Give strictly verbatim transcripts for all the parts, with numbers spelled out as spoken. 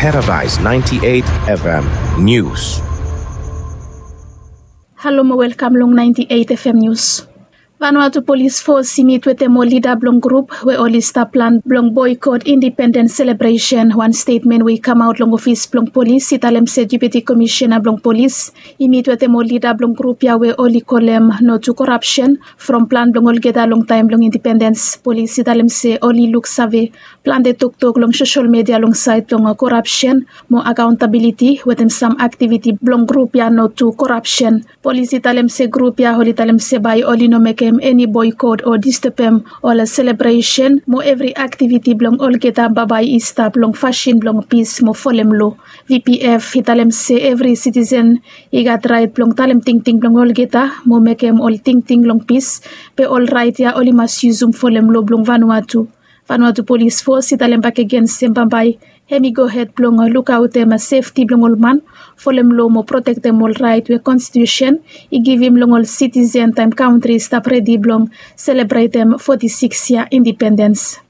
Paradise ninety-eight F M News. Halo mo welkam long ninety-eight F M News. Vanuatu Polis Fos i mit wetem ol lida blong grup we oli stap plan blong boikot indipendens selebresen. Wan stetmen we i kamaot long ofis blong polis i talem se Deputi Komisena blong polis i mit wetem ol lida blong grup ya we oli kolem no tu korapsen from plan blong olgeta long taem blong indipendens. Polis i talem se oli luksave plante toktok long sosol media long saed blong korapsen mo akaontabiliti wetem sam aktiviti blong grup ya no tu korapsen. Polis i talem se grup ya oli talem se bae oli no mekem eni boikot o distebem ol selebresen mo evri aktiviti blong olgeta bambae i stap long fasin blong pis mo folem loa. V P F i talem se evri sitisen i gat raet blong talem tingting blong olgeta mo mekem ol tingting long pis, be ol raet ya oli mas yusum folem loa blong Vanuatu. Vanuatu Polis Fos i talem bakegen se bambae hem i gohed blong lukaotem sefti blong ol man, folem loa mo protektem ol raet we konstitusen i givim long ol sitisen taem kantri i stap redi blong selebretem foti sikis yia indipendens.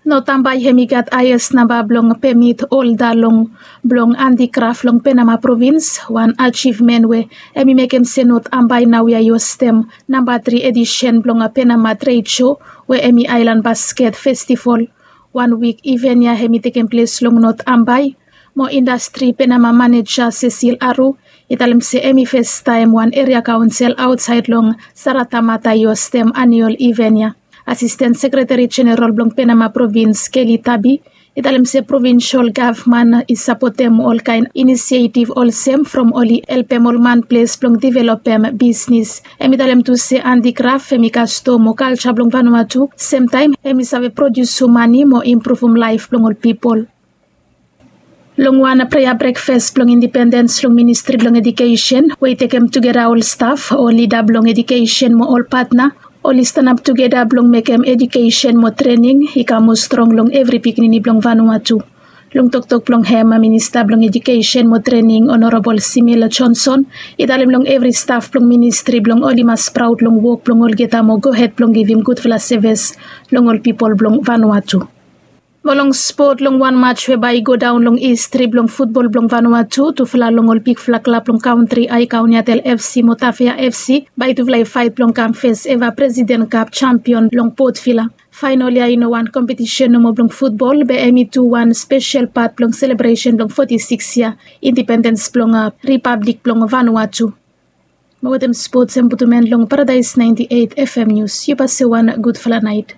Not Ambae hem i gat haes namba blong pemit holda long blong andikraf long Penama provins. Wan ajivmen we hem i mekem se Not Ambae naoia i hostem namba tri edisen blong Penama tred sho we hem i aelan basket festival. Wan wik iven ya hem i tekem ples long Not Ambae. Mo indastri Penama maneja Cecil Aru i talem se hem i festaem wan eria kaonsel aotsaed long Saratamata i hostem aniol iven ya. Asisten Sekreteri Jeneral blong Penama provins Kelly Tabi i talem se provinsol gavman i sapotem olkaen inisietiv olsem from oli helpem ol man ples blong developem bisnis. Hem i talem tu se andikraf hem i kastom mo kalja blong Vanuatu, semtaem hem i save prodiusum mane mo impruvum laef blong ol pipol. Long wan prea brekfas blong indipendens long Ministri blong Ejukesen we i tekem tugeta ol staf, ol lida blong ejukesen mo ol patna, oli stanap tugeta blong mekem ejukesen mo trening i kam moa strong long evri pikinini blong Vanuatu. Long toktok blong hem, Minista blong Ejukesen mo Trening Honorable Simil Johnson i talem long evri staf blong ministri blong oli mas praod long wok blong olgeta mo gohed blong givim gudfala sevis long ol pipol blong Vanuatu. Mo long spot, long wan maj we bae i godaon long histri blong futbol blong Vanuatu, tufala long ol bigfala klab blong kantri, Aekauniatel F C mo Tafea F C, bae tufala i faet blong kam fes eva Presiden Kap jampion long Port Vila. Faenol ya i no wan kompetisen nomo blong futbol, be hem i tu wan spesel pat blong selebresen blong foti sikis yia indipendens blong Ripablik blong Vanuatu. Mo wetem spots hem putum en long Paradise ninety-eight F M News. Yu base wan gudfala naet.